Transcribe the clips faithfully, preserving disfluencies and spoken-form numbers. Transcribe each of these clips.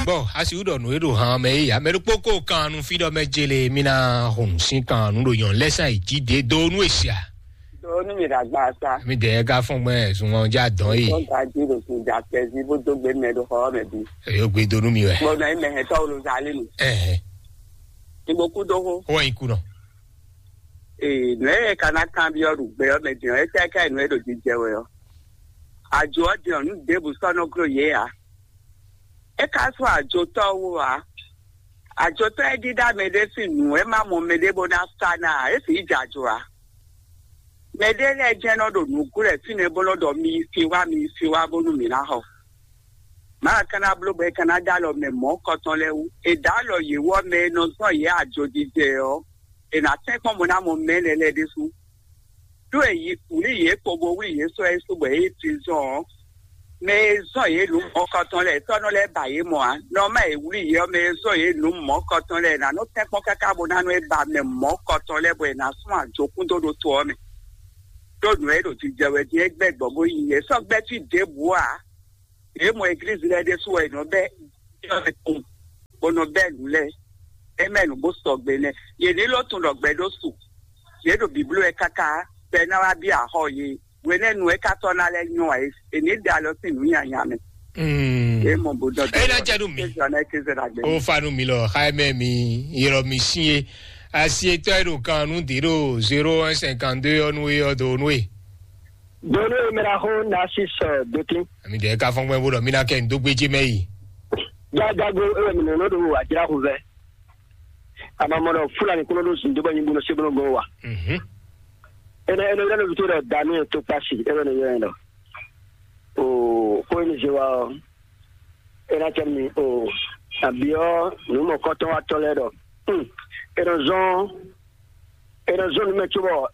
Bɔ asi wú ɖɔ nǔ e ɖo han mɛ é ya mɛ ɖokpó ko kan nu fí ɖɔ mɛ jele mi na hun sín kan nu ɖo nyɔn lɛsàn ìjì dé do nú èsì a. Do nú mi ɖagba sa. Mi dɛ ka fɔn gbɛ zun ɔn ja dɔn yi. Tó ga jí ɖo sun ja kpɛzí bó dó gbé mɛ ɖo xɔ mɛ bí. Eyo gbé do nú mi wɛ. Gbɔdɔ yi mɛ hɛn tɔwlo zali nu. Ɛhɛ. Igbo kú dó hó. Ó wá ikú nɔ. Ee, nú ɛ ka ná kan byɔ́ ɖu gbɛ ɔ́ mɛ din ɔ́, é tɛ́ ká nú ɛ ɖo jijɛ wɛ ɔ́. Ajo ɔ́ din ɔ́, nú ɖěbǔ sɔ́ nɔ gló yě ǎ. É ka sú ajotɔ́ wú ǎ. Ajotɔ́ e ɖíɖá mɛɖé sín nǔ e ma mɔ mɛɖé bó ná sa ná ǎ, é sixú jɛ ajo ǎ. Mɛɖé lɛ́ɛ jɛ́n nɔ ɖo nǔ gúlɛ fínɛ́ bó nɔ ɖɔ mi yi sin wá, mi yi sin wá bónú mǐ ná xɔ. Mǎ ka ná bló bɔ é ka ná ɖó alɔ mɛ mɔ̌kɔtɔn lɛ́ɛ wú. È ɖǒ alɔ yě wú ɔ́, mɛ e nɔ zɔ́n yě ajojijɛ ɔ́, è nǎ tɛ́nkpɔ́n bó ná mɔ mɛ énɛ́ lɛ́ɛ ɖésú. Ɖó è yi wlǐ yě kpo bó wlí yě sɔ́ yě su bɔ yě yi prison ɔ́, mɛ e zɔ́n yě nǔ mɔ̌kɔtɔn lɛ́ɛ tɔ́ nɔ lɛ́ ba yě mɔ ǎ. Nɔ má è wlí yě ɔ́, mɛ e zɔ́n yě nǔ mɔ̌kɔtɔn lɛ́ɛ è nǎ nɔ tɛ́nkpɔ́n káká bó ná nɔ é ba mɛ mɔ̌kɔtɔn lɛ́ɛ bɔ è nǎ sún ajokúndo ɖó to ɔ́ mɛ. Ɖó nǔ e ɖo jijɛ wɛ din é gbɛ́ gbɔn bó yi yě sɔ́ gbɛ́ fí ɖěbǔ ǎ. Yě mɔ eglízi lɛ́ɛ ɖésú wɛ è nɔ bɛ́ yɔ́ kpowun, bó nɔ bɛ́ nǔ lɛ́ɛ. É mɛ nǔ bó sɔgbe nɛ́. Yě ní ló tunwun ɖɔ gbɛ ɖó su. Yě ɖo bǐbló wɛ káká, bɔ é ná wá byɔ́ axɔ́ yě. Hwenɛ́nu é ka tɔ́ ná lɛ́ nyɔ́ ǎ é, è ní ɖe alɔ sín nǔ nyanya mɛ. Mm. É mɔ bó dɔn É ná jɛ nú mi. Kézɔ ná kézɔ ná gbé. Ó fa nú mi lɔ, xá ɛ mɛ mi, ylɔ mi sín é. Asi etɔ́ e ɖo kan nú dǐ ɖo zéro un cinquante deux ɔ́ nú é ɔ́ do nú é. Donu e mɛ ɖaxó Narcisse Dotin. Ami ɖe ka fɔn gbɛn bó ɖɔ mi ná kɛ n dó gbéjé mɛ yi. Jájágo ewé mi nɔnɔ ɖo àjráxu vɛ. Amamɔ ɖɔ Fulani kúnɔ ɖó zun dó bɔ nyi bó nɔ sé bó nɔ gɔn wa. Mhm. Ene ene yɛrɛ ló fi tó ɖɔ Daniel tó kpasi ewé ne yɛrɛ ɖɔ. O kó emi zé wa ɔ. Ena tɛ mi o. Abiɔ nu mɔ kɔtɔn wa tɔ lɛ ɖɔ. Hmm. Ena zɔn ena zɔn numɛ tso bɔ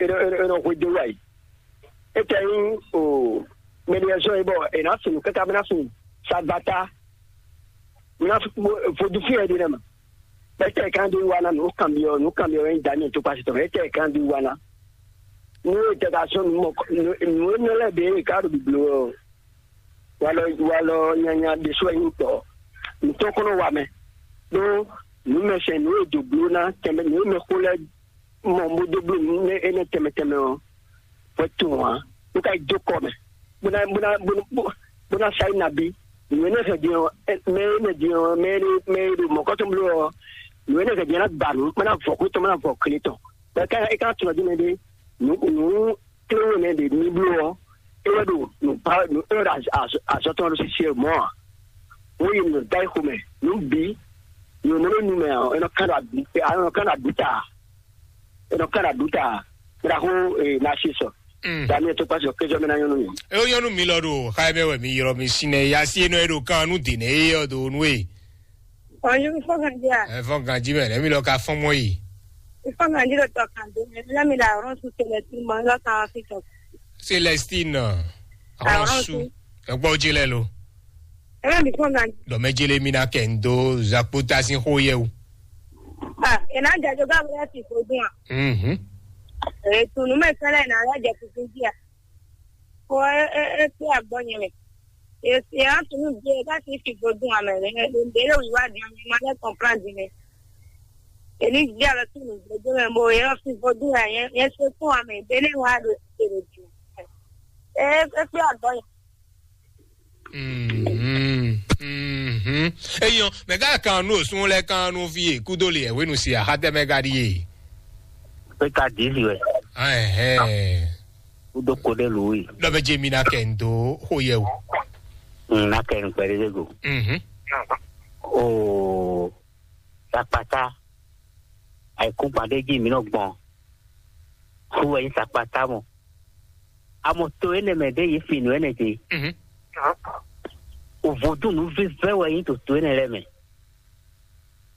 ena ena ena hwe de wa yi. Etɛ nyí o mɛɖeɛzɔ́ e bɔ è nǎ fin nǔ káká bó ná fin sagbata bó ná vodúnfín ɛ ɖi nɛ mɛ. Bɔ etɛ kan ɖi wa ná nǔ kanbyɔ nǔ kanbyɔ wɛ nyí Daniel tó kpasi tɔn etɛ kan ɖi wa ná. Nú etɛ ka sɔ́ nǔ mɔ nǔ énɛ́ lɛ́ɛ ɖě e ká ɖo bǐbló ɔ́, walɔ walɔ nyanya ɖésú wɛ nyí tɔ́ nǔtɔ́ kɔ́ nɔ wa mɛ. Ɖó nǔ mɛ sɛn nǔ e dǒ bló ná tɛnmɛ nǔ e mɛ xó lɛ́ɛ mɔ bó dó bló nǔ énɛ́ tɛnmɛ tɛnmɛ ɔ́, hwɛ tunwun ǎ. Bó ka yi dó kɔ mɛ, bó ná bó ná bó ná bó ná sa yi nabí. Nǔ énɛ́ hɛn din ɔ́, mɛ énɛ́ din ɔ́, mɛ énɛ́ mɛ e ɖo mɔ̌kɔ́tɔn bló ɔ́, nǔ énɛ́ hɛn din ɔ́ ná gba nǔ, bó ná vɔ kú tɔn, bó ná vɔ kle tɔn. Bɔ é ka é ka tunwun dín mɛ ɖé, nǔ nǔ kléwé nɛ́ ɖe ní bló ɔ́, é wɛ ɖo nǔ ba nǔ é wɛ ɖo azɔ tɔn ɖo sisi mɔ̌ ǎ. Wọ́n yi nɔ da yi xomɛ, nǔ bǐ, nǔ mɔ nínú mɛ ɔ́, é nɔ kán ɖo abǐ, é nɔ kán ɖo abǐ ta, é nɔ kán ɖo abǐ ta, é ná xó ná sí sɔ. Mm. Daniel tó kpásɔ kéjɔ mɛ ná nyɔ́ nú mi. É ó nyɔ́ nú mi lɔ ɖo xa ɛ mɛ wɛ mi ylɔ́ mi sín nɛ ya sí é nɔ é ɖo kan nú dě nɛ é ɔ́ do nú é. Ɔyú fɔ́n kan jí a? Ɛ fɔ́n kan jí mɛ nɛ mi lɔ ka fɔ́n mɔ yi. Fɔ́n kan jí ɖo tɔ kan dó mɛ, mi lɔ mi ɖo àwòrán sún Célestine mɔ, mi lɔ kan wá fi tɔ. Célestine, àwòrán sún. Ẹ gbọ́ jí lẹ lo. Ẹ bá mi fún ọ̀gá. Dɔmɛjele mi na kɛ n do zakpota sin xo yɛ o. Ah, ina jajo ga bra ti ko dun a. Mhm. E tunu me sala ina la ja ti kun dia. Ko e e e ti agbonye me. E e a tunu de ga ti fi ko dun a me. E de le wi wa di a me ma le comprendre me. E ni dia le tunu de de me mo e o fi ko dun a ye ye se ko a me de le wa do se de. E e ti agbonye. Mhm, mhm. Eyɔn, mɛ gã kan nu osun lɛ kan nu fi e kudo le ɛwenu si ahatɛ mɛ ga ɖi e. Pé ka dǐ si wɛ. Ahɛn. Kudo ko ɖe lu yi. Dɔ bɛ jɛ mi na kɛ n do xo yɛ o. N na kɛ n kpɛ ɖe go. Mhm. O sakpata. Àìkúngban ɖé jí mǐ nɔ gbɔn. Xú wɛ nyí sakpata mɔ. Amɔ to énɛ́ mɛ ɖé yě fi nǔ énɛ́ ce. Mhm. O vodún nǔvívɛ́ wɛ nyí to to énɛ́ lɛ́ɛ mɛ.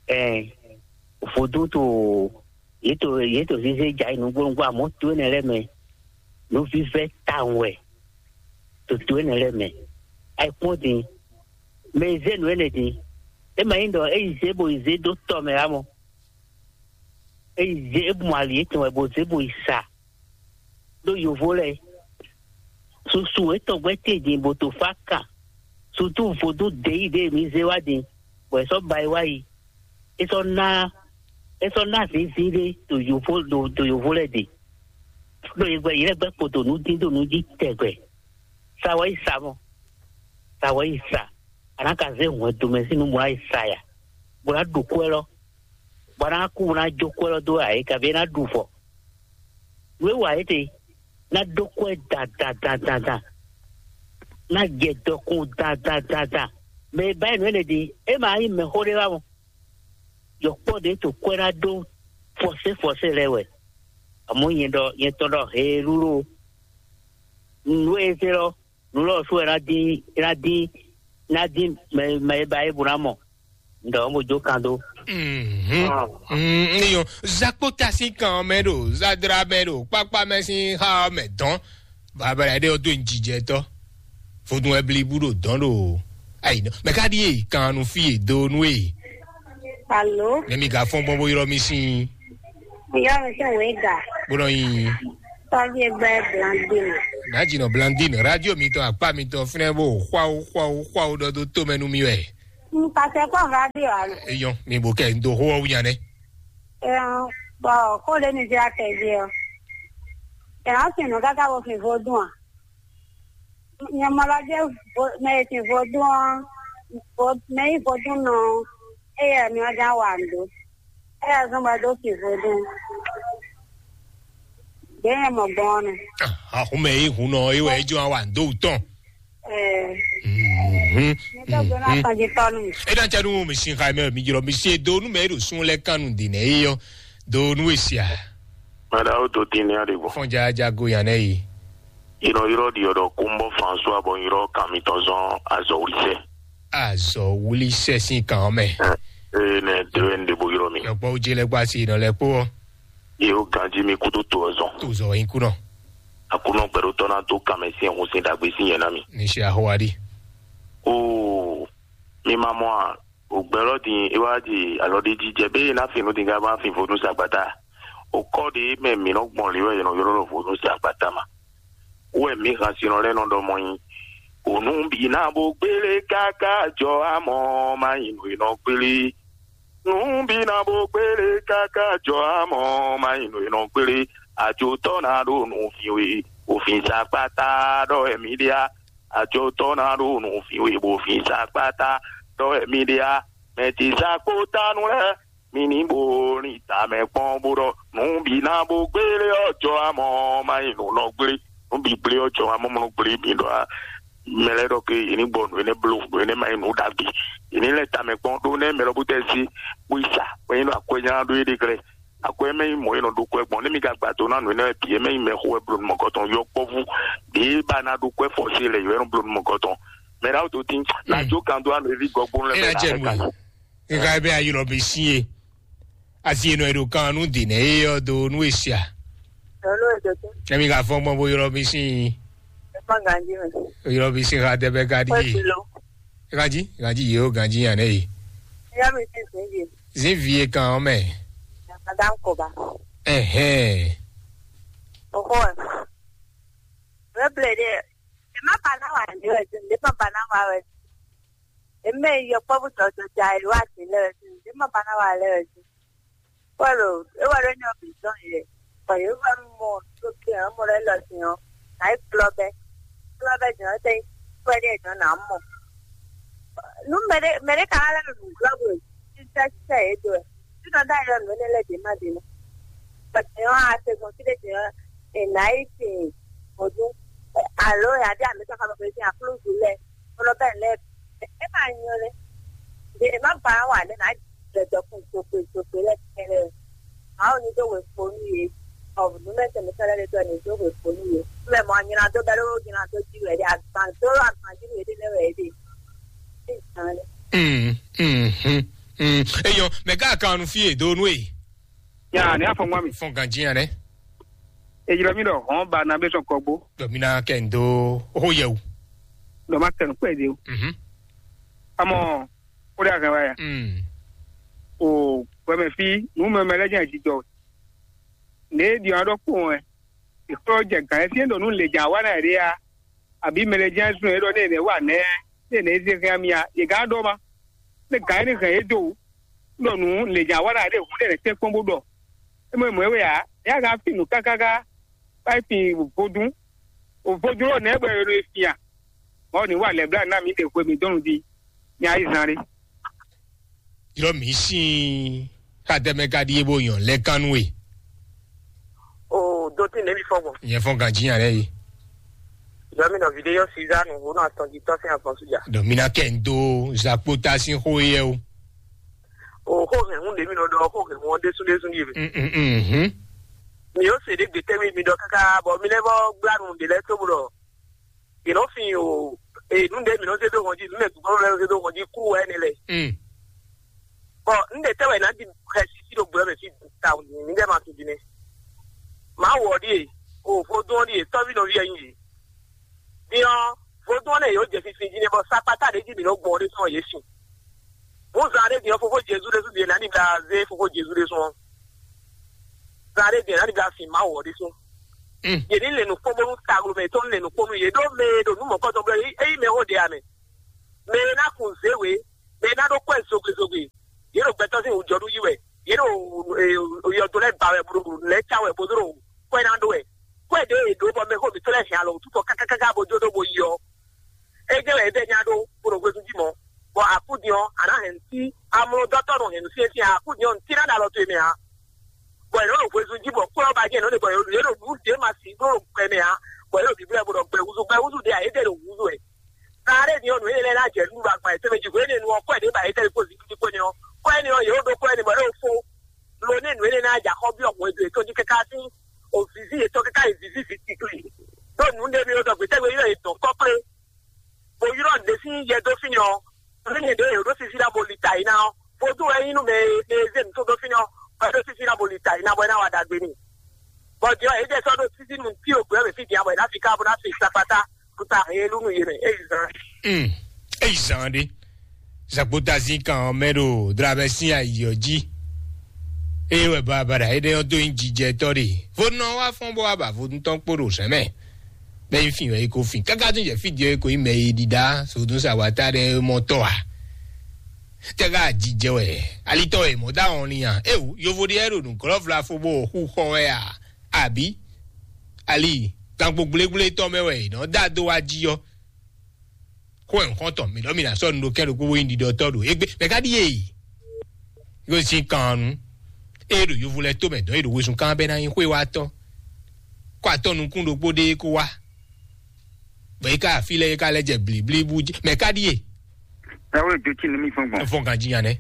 Ɛɛ, vodún to yě to yě to zézé ja yi nǔgbónúgbó amɔ̌ to énɛ́ lɛ́ɛ mɛ. Nǔvívɛ́ tawun wɛ to to énɛ́ lɛ́ɛ mɛ. Ayikpɔ́n din, mɛ e zé nǔ énɛ́ din, é ma nyí ɖɔ é yi zé bo yi zé dó tɔ mɛ ǎ mɔ. É yi zé é mɔ ali étɔn wɛ bo zé bo yi sa. Ɖó yovo lɛ́ɛ, susu étɔn gbɛ́ te din bo to fá kan. tutu vodún ɖe yí ɖe mi zé wá din, bɔ è sɔ́ ba yi wá yi. É sɔ́ ná é sɔ́ ná zǐnzín ɖé ɖo yovo ɖo ɖo yovo lɛ́ɛ ɖe. Ɖo yě gbɛ yě lɛ́ gbɛ kpo ɖo nǔ dín ɖo nǔ jí tɛgbɛ. Sa wɛ yi sa mɔ. Sa wɛ yi sa. A nǎ ka zé hwɛndo mɛ sín nǔ bó ná yi sa ya, bó ná ɖu kwɛ́ lɔ, bó ná kú bó ná jó kwɛ́ lɔ dó ayǐ, kabi é ná ɖu vɔ. Nǔ e wa é te, ná dó kwɛ́ dandandandandan, ná jɛ dɔkun dandandandan. Mɛ e ba nǔ énɛ́ ɖi, é ma nyí mɛxó ɖé wá mɔ. Yɔkpɔ́ ɖě to kwɛ́ ná ɖó fɔsé fɔsé lɛ́ɛ wɛ. Amɔ̌ nyɛ ɖɔ nyɛ tɔn ɖɔ heelúlú. Nǔ e zé lɔ, nǔ lɔ sú wɛ ná dín ná dín ná dín mɛ mɛ e ba é bó ná mɔ. Un ɖɔ mo jó kan dó. Mhm. Mm, ní yɔ zakpota sín kan ɔ́ mɛ ɖo zadra mɛ ɖo kpákpá mɛ sín xá ɔ́ mɛ dɔn. Babala ɖé ɔ́ dó jijɛtɔ. Vodun wɛ blibu ɖo dɔn ɖo ayi nɔ. Mɛ ka ɖi e kan nu fí e do nu e. Alo, Nɛ mi ga fɔn gbɔn bó ylɔ mi sín. Yɔ mi sɛ wɛ ga. Bó nɔ yin. Tɔvi egbe Blandine. N'a dzi nɔ Blandine radio mi tɔn akpa mi tɔn fínɛ bó xwawo xwawo xwawo ɖɔ dó tó mɛ nú mi wɛ. N pasɛ kpɔ radio alo. Eyɔn mi bò kɛ n do xó ɔ́ wú nya nɛ. Ɛn, bɔ kó lé mi zé akɛ jí ɔ. Ɛn, ɔ́ sin nǔ káká wo fin vodún a? Nyɛ mɔ lɔ jẹ́ mɛ e sin vodún ɔ́, mɛ e nyí vodún nɔ ɔ́, éyɛ́ mi ɔ́ ján wa nǔ ɖó. Éyɛ́ zɔ́n bɔ é dó sin vodún. Ɖě nyɛ mɔ gbɔn ɔ́ nɛ. Ahun mɛ e hun nɔ é wɛ é jɔ wa nǔ dó wú tɔn. Ɛɛ, Mhm. mi tó gbé ná Mhm. tɔn jí tɔ́ nú mi. E ɖɔ cɛ nu mi sin xa mɛ mi jlɔ mi sin do nu mɛ e ɖo sun lɛ kan nu de nɛ e yɔ do nu e sia. Mada o to tin ne aɖe gbɔ. Fɔn ja ja go yan nɛ yi. Inɔ yrɔ ɖi ɔdɔ kumbɔ François bɔ yrɔ kan mitɔn zɔn azɔ wuli sɛ. Azɔ wuli sɛ sin kan mɛ. Ee ne de wɛ n de bo yrɔ mi. Yɔkpɔ wo je lɛ gba si nɔ lɛ kpó. Ye o ganji mi kudo to ɔzɔn. To zɔ yin kunɔ. Akunɔ gbɛɖotɔ na to kan mɛ sin ɛhun sin dagbe sin yɛ na mi. Ni si ahowa di. Oo, mi ma mɔ a? Ògbɛ́lɔ́ din é wá ɖi alɔɖéjijɛ bé ná fin nú din ká má fin vodún sagbata. Òkɔ ɖé mɛ mǐ nɔ gbɔn lě wɛ è nɔ ylɔ́ ɖɔ vodún sagbata ma. Wɛ mǐ han sinɔ lɛ́ɛ nɔ ɖɔ mɔ nyi. Ònú bǐ ná bó gbélé káká jɔ amɔ má nyi nǔ e nɔ gbélé. Nǔ bǐ ná bó gbélé káká jɔ amɔ má nyi nǔ e nɔ gbélé. Ajotɔ́ ná ɖo nǔ fin we, òfin sagbata ɖɔ wɛ mǐ ɖe á. Ajotɔ́ ná ɖo nǔ fin we bó fin sagbata ɖɔ wɛ mǐ ɖe á. Mɛ ce sa kpó tánu lɛ́ɛ, mi ní bo lin tamɛ kpɔ́n bó ɖɔ nǔ bǐ ná bó gbélé ɔ́ jɔ amɔ má nyi nǔ nɔ gblé. Nǔ bǐ gblé ɔ́ jɔ amɔ mɔ nɔ gblé mi ɖɔ á. Mɛ lɛ́ɛ ɖɔ ke yě ní gbɔ nǔ énɛ́ bló, nǔ énɛ́ ma nyí nǔ ɖagbe. Yě ní lɛ́ tamɛ kpɔ́n ɖó nɛ́ mɛ lɔ bó tɛ́ sí bó yi sa, bó nyí ɖɔ akwɛ́ nyá ɖó yé ɖe glɛ́. Akwɛ́ mɛ nyí mɔ̌ e nɔ ɖó kwɛ́ gbɔn, nɛ́ mi ka gba do ná nǔ énɛ́ wɛ bǐ é mɛ nyí mɛ xo wɛ bló nú mɔ̌kɔtɔn yɔkpɔ́vú ɖě ba ná ɖó kwɛ́ fɔ́sé lɛ yɔ̌ é nɔ bló nú mɔ̌kɔtɔn. Mɛ ɖaxó tó tín, ná jó kan dó anɔ éví gɔgbónú lɛ́ɛ É mɛ ná ná jɛ xɛ nǔ kan. É ká bɛ ayilɔ mi sí e. Asi e nɔ e ɖo kan nú dǐ nɛ é ɔ́ dó nú e sia. Hello, Ezekiel. Kɛmi ka fɔn gbɔn bó ylɔ mi sí. Ẹ má ganjí mi. Ylɔ mi sí ha dɛ bɛ ka Kpɛ́ ɖi. Fi lo. Ganjí, ganjí yìí ó ganjí yàn nɛ yìí. Yá mi sí sìn yìí. Zin vie kan ɔ́ mɛ. Madame Koba. Ɛhɛn. Ɔkọ ɛ. Wɛ ble de. Ẹ má ba ná wà ní wẹ̀ sí. Ẹ má ba ná wà wẹ̀ sí. Eme yi yɔkpɔ́vú jɔjɔjɛ ayǐ wá sí lɛ wɛ sí. Eme ba ná wà lɛ wɛ sí. Pɔ́lu, é wá ɖó nyɔ́ bǐ zɔn yě. Bɔ yě wá mɔ tó kí ɔ́ mɔ lɛ́ lɔ sí ɔ́, nǎ yi kplɔ́ bɛ́. Kplɔ́ bɛ́ jɔ̌n tɛ́ kpɛ́ ɖé jɔ̌n nǎ mɔ. Nú mɛɖé mɛɖé ka wá lɛ́ ɖo nǔglɔ́ bó títɛ́ títɛ́ yě dó wɛ. Títɔ́ dá yɔ nǔ énɛ́ lɛ́ɛ ɖě má ɖě mɛ. Bɔ jɔ̌n a se gbɔn fí ɖé jɔ̌n è nǎ yi sin vodún. Alo yǎ dé àmì sɔ́ xá bɔ sín aklúzu lɛ́ɛ. Bɔlɔ bɛ́ lɛ́ɛ é ma nyɔ lé. Ɖe è má ba wà lé nǎ jɛ dɔkun sokpe sokpe lɛ́ɛ kɛlɛ. Màá ní dó wěkpo nú yě. Ɔ nǔmɛsɛn mi sɔ́ lɛ́ɛ dó ní dó wěkpo nú yě. Mɛ mɔ nyina dó bɛ́ ló nyina dó jí wɛ dé agban dó agban jí wɛ dé lɛ́ wɛ dé. Ṣé ìtàn lɛ? Mm, mm, mm, mm. Eyɔn, mɛ ká kan nu fí e dó nú e. Ya, ní afɔngba mi. Fɔn ganji ya nɛ. Ejiro mi ɖɔ hɔn ba na bɛ sɔn kɔgbo. Dɔ mi na kɛ n do ho yɛ o. Dɔ ma kɛ n kpɛ de o. Mhm. Amɔ o de ahɛn wa ya. Mm. O gbɛmɛ fi nu mɛ mɛ lɛ jɛ jijɔ. Ne di ɔn ɖɔ kpɔn ɛ. Ìkplɔ jɛ gan ɛ fi ɖɔ nu le jan wa na yɛ de ya. Àbí mɛ lɛ jẹ sún ɛ ɖɔ ne ne wa nɛ. Ní è nɛ̌ zé hɛn mì a? Yě gán ɖɔ ma. Ní gǎn énɛ́ hɛn yě dó wǔ. Ɖɔ nǔ lě nya wa ɖa ɖé hǔn ɖé nɛ́ tɛ́ kpɔ́n bó ɖɔ. É mɔ mɔ̌ é wɛ ǎ. É yá gán fí nǔ káká ká wá yi fin vodún. Vodún ɔ́ nɛ̌ bɔ è nɔ e fin a? Mɔ̌ ní wa lɛ̌blá ná mǐ ɖe hwe mǐ dɔn nǔ jí. Nya yi zan ɖé. Ylɔ mǐ sín xatɛmɛ ka ɖíe bó nyɔ lɛ́ kan nú we. O do tí nɛ̌ mi fɔ́n gbɔn? Nyɛ fɔ́n ganjí nya lɛ́ yi. Yɔ mi nɔ vidéo Suzanne Ŋuhónú atɔn jí tɔ́ sín afɔnsújà. Ɖɔ mi ná kɛ ń dó zakpóta sín xó yɛ o. O xó hɛn hún ɖě mi nɔ ɖɔ xó hɛn hún ɔ́ ɖésú ɖésú ɖíe mɛ. Mm, mm, mm, mm. Mi yóò se ɖě gbe tɛ́ mi mi ɖɔ káká bɔ mi lɛ́ vɔ gbla nǔ ɖě lɛ́ɛ tó bó ɖɔ yě nɔ fin o e nǔ ɖě mi nɔ zé dó hɔn jí nǔ mɛ gǔgbɔ́ lɛ́ɛ nɔ zé dó hɔn jí kú wɛ énɛ́ lɛ́ɛ. Mm. Bɔ un ɖe tɛ́ wɛ ná ɖi xɛsi sí ɖo gbɛ mɛ fí ta mi ɖɛ ma tún din nɛ. Má wɔ ɖíe o vodún ɔ́ ɖíe tɔ́ví nɔví ɛ nyí yě. Din ɔ́, vodún ɔ́ lɛ yě ó jɛ finfin jí nɛ́ bɔ sakpata ɖě jí mǐ nɔ gbɔn ɔ́ ɖésú ɔ́ yě sin. Hǔn zan ɖé din ɔ́, fofó Jezu ɖésú din ná ní ɖa zé fofó Jezu ɖésú ɔ́. Zan ɖé din ná ní ɖa fin Mawu ɔ́ ɖésú. Mm. Yě ní lɛ nǔkpɔ́n bónú taglomɛ yětɔn ní lɛ nǔkpɔ́n nú yě ɖó mɛ e ɖo nǔ mɔ̌kɔtɔn blɛ́ é yí mɛ xó ɖe ǎ mɛ. Mɛ e ná kun zě wě, mɛ e ná ɖó kwɛ́ zogbezogbe. Yě ɖo gbɛtɔ́ sín wǔjɔnú yí wɛ. Yě ɖo yɔdo lɛ́ɛ ba wɛ bó ɖo lɛ́ɛ cá wɛ bó ɖo kwɛ́ ná ɖó wɛ. Kwɛ́ ɖě e ɖǒ bɔ mɛxó mǐtɔn lɛ́ɛ hɛn alɔ wǔtútɔ kákákáká bó jó ɖó bó yi ɔ́, é jẹ́ wɛ é bɛ́ nya ɖó bó ɖo hwezun jí mɔ̌. Bɔ akúdin ɔ́, a nǎ hɛn nǔ sí amlɔdɔ́tɔ́ nɔ hɛn nǔ syɛ́nsyɛ́n akúdin ɔ́, nǔ cí ná ɖo alɔ towe mɛ ǎ. Bɔ è nɔ ɖo hwezun jí bɔ kwɛ́ ɔ́ ba jɛ nɔ ɖe bɔ yě ɖo nǔ ɖě ma sí ɖó ɖo gbɛ mɛ ǎ, bɔ yě ɖo bǐblɛ́ bó ɖɔ gbɛ húzú, gbɛ húzú ɖě ǎ, é ɖe ɖo húzú wɛ. Taɖé din ɔ́, nǔ énɛ́ lɛ́ɛ ná jɛ nú ɖagba yětɔn mɛ jí hwenu e nu ɔ́ kɔ́ ɛ ɖě ba yě tɛ́ kó zǐngídi kɔ́ nɛ́ ɔ́, kɔ́ ɛnɛ ɔ́, yě ó ɖó kɔ́ ɛnɛ bɔ yě ó fó. Lo nɛ́ nǔ énɛ́ ná jɛ axɔ́ byɔ́ hwɛndo yětɔn jí káká sín òvǐví yětɔn káká yi vǐví vǐ tikli. Ɖó nǔ ɖé mɛ ɔ́, ɖɔ gbětɛ́ yɔ́ yě dɔn kɔ́kplé, bó ylɔ́ ɖě sín yɛ dó fínɛ́ ɔ́, nǔ énɛ́ ɖě yě ɖó sísí ná bo li ta yě ná ɔ́, vodún wɛ nyí nú mɛ e mɛ e zé nǔ tó dó fínɛ́ ɔ́, bɔ é ɖó sísí ná bo li ta yě ná bɔ é ná wa ɖagbe n'i. Bɔ din ɔ́, yě jɛ sɔ́ ɖó sísí nú tí o gbɛ́ mɛ fí din abɔ yě ná fi ká bó ná fi sakpatá kuta he e lú nú yě mɛ é yi zan. Mm. Eyi zan ɖe. Zagbota zin kan ɔ́ mɛ ɖo dramɛ sín ayi ɔ́ jí. Eye wɛ babada énɛ́ ɔ́ dó nyí jijɛtɔ́ ɖe. Vodún ɔ́ wá fɔ́n bó wá ba vodún tɔn kpó ɖo zɛ̌n mɛ. Bɛ́ nyí fin wɛ é ko fin. Káká tún jɛ fí din ɔ́ é ko nyí mɛ e ɖiɖa sodún sa wata ɖe mɔ tɔ́ a. Tɛ́ ká jijɛ wɛ alitɔ wɛ mɔ̌ dó ahɔn ni a? Éwú yovo ɖé wɛ ɖo nǔglɔ́vla fó bó xú xɔ wɛ a? Abǐ ali gangbo gblégblé tɔn mɛ wɛ è nɔ dó adó wá jí ɔ́? Xó ɛ nǔxɔ́ntɔn mǐ ɖɔ mǐ ná sɔ́ nu ɖo kɛ́n ɖokpó bó nyí ɖiɖɔtɔ́ ɖo égbé mɛ ká ɖíe? Yóò sín kan nu. Ée ɖo yovo lɛ́ɛ tó mɛ dɔn é ɖo wezun kán bɛ́ ná nyí xwéwátɔ́. Kó atɔ́ nukún ɖokpó ɖé kó wá. Bɔ é ká afí lɛ́ɛ é ká lɛ́ jɛ blǐblíbú jí mɛ ká ɖíe? Ẹ wé dó tí ní mí fún gbɔn. Fɔn kan jí yan nɛ.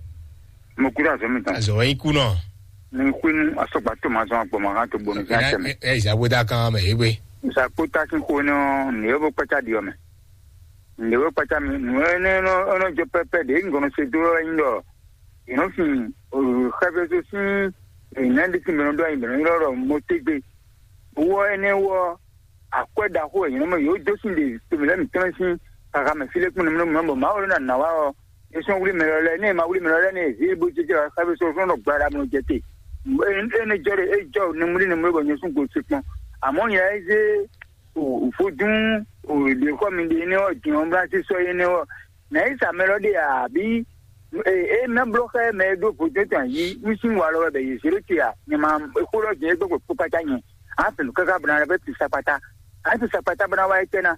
Mo kúrò azɔ mi tán. Azɔ wɛ yín kú nɔ. Ní xwínú asɔgba tó máa zɔn agbọmọ hàn tó gbóni sí àtẹmẹ. Ɛ ìzàgbéda kan mɛ yé gbé. Ìsàkpó tá sí xó ní ɔ ní yóò bó kpácá di ɔmɛ. Ní yóò kpácá mi nù ɛ ní ɔnɔ jọ pẹpẹ ɖé ŋgɔnɔ se dó ɛ ńlọ. Ìnú fin xɛfɛso sín ìná ɖé tí mìíràn dó ayi mìíràn ńlọ mo tégbe. Wɔ ɛnɛ wɔ akwɛ́ ɖaxó wɛ nyɔ̌nu mɛ yǒ dó sín ɖe tomɛ lɛ́ɛ mǐtɔn sín xaxa mɛ fí lɛ́ kpɔ́n nɛmúnɛ mɔ̌ bɔ Mawu ló ná nǎ wá ɔ́, é sɔ́ wlí mɛ lɔ lɛ́ɛ, ní è ma wlí mɛ lɔ lɛ́ɛ ní è zě bó jɛjɛ wá xá fí sɔ́ sɔ́ nɔ gbla ɖa mlɔ jɛ te. Énɛ́ jɔ ɖe é jɔ nɛmúlí nɛmúlí bɔ nyɛ sún go se kpɔn. Amɔ̌ nyɛ é zé vodún ɖě xɔ mi ɖe énɛ́ ɔ́, din ɔ́ bla sí sɔ́ énɛ́ ɔ́, nǎ yi sa mɛ lɔ ɖe ǎ, abǐ? Ee, é ná bló xá mɛ e ɖó vodún tɔn yí nú sín wa lɔ wɛ bɛ yě zé ɖó te ǎ. Nyɛ ma xó lɔ jɛ́n é gbɔ́gbɔ kpó kpácá nyɛ. Á fɛ nǔ káká bó ná lɛ́ vɛ́ tu sakpata. Á tu sakpata bó ná wá étɛ́ ná?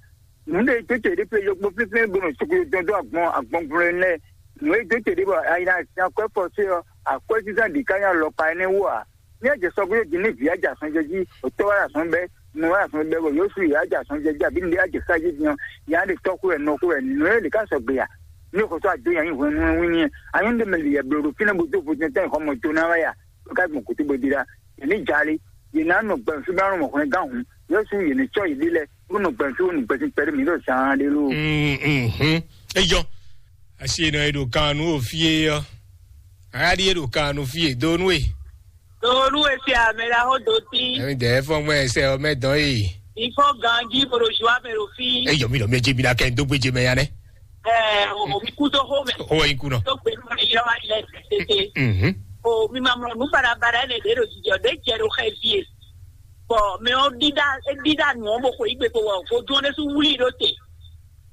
Nǔ ɖé tó te ɖé plé yɔkpɔ́ flínflín bó nɔ soklo dɔn dó agbɔn agbɔngblo lɛ́ɛ. Nǔ e dó te ɖé bɔ ayi ná sin akwɛ́ fɔ sé ɔ́, akwɛ́ sísá ɖě ká nyí alɔkpa énɛ́ wú ǎ. Ní a jɛ sɔgbe din ní vǐ a jɛ azɔn jɛ jí, otɔ́ wá azɔn bɛ́, nɔ wá azɔn bɛ́, bɔ Yosu yě a jɛ azɔn jɛ jí, abǐ nǔɖé a jɛ sá jí din ɔ́, yě á ɖe tɔ́ xwé wɛ, nɔ xwé wɛ, nǔ e lě ká sɔgbe a? Ní xɔsɔ ado nyi ayǐ hwenu wínní ɛ, anyɔ́ ɖé mɛ lǐyɛ bló ɖo fínɛ́ bó dó vodún tɛ́ xɔ mɔ do ná wá ya, bó ká gbɔn kútú bó dí ɖá. Yě ní jalé, yě ná nɔ gbɛ̀n fí bá nɔ mɔ hwlɛngán hǔn, Yosu yě ní cɔ́ yě ɖé lɛ́ɛ, bó nɔ gbɛ̀n fí bó nɔ gbɛ̀n sín kpɛɖé mǐ ɖo zaan ɖé ló. Eyɔ, asi nɔ e ɖo kan nú o fí é ɔ́, aɖí e ɖo kan nú fí é dó nú e. Donu esi ame la ho do ti. Ɛmi dɛ fɔn mɛ sɛ ɔmɛ dɔn e. Ifɔ ganji boro ju ame ɖo fi. Eyɔ mi lɔ mi edze mi la kɛ dó gbedze mɛ ya nɛ. Ɛɛ o mi ku to ho mɛ. Ho yi ku nɔ. To gbe nɔ ni yɔ ma lɛ tete. Mhm. O mi ma mɔ nu barabara ne de ɖo jijɔ de jɛ ɖo xɛ vie. Bɔn mɛ o dida e dida nu o bo xɔ igbe ko wɔ ko dun ne su wuli ɖo te.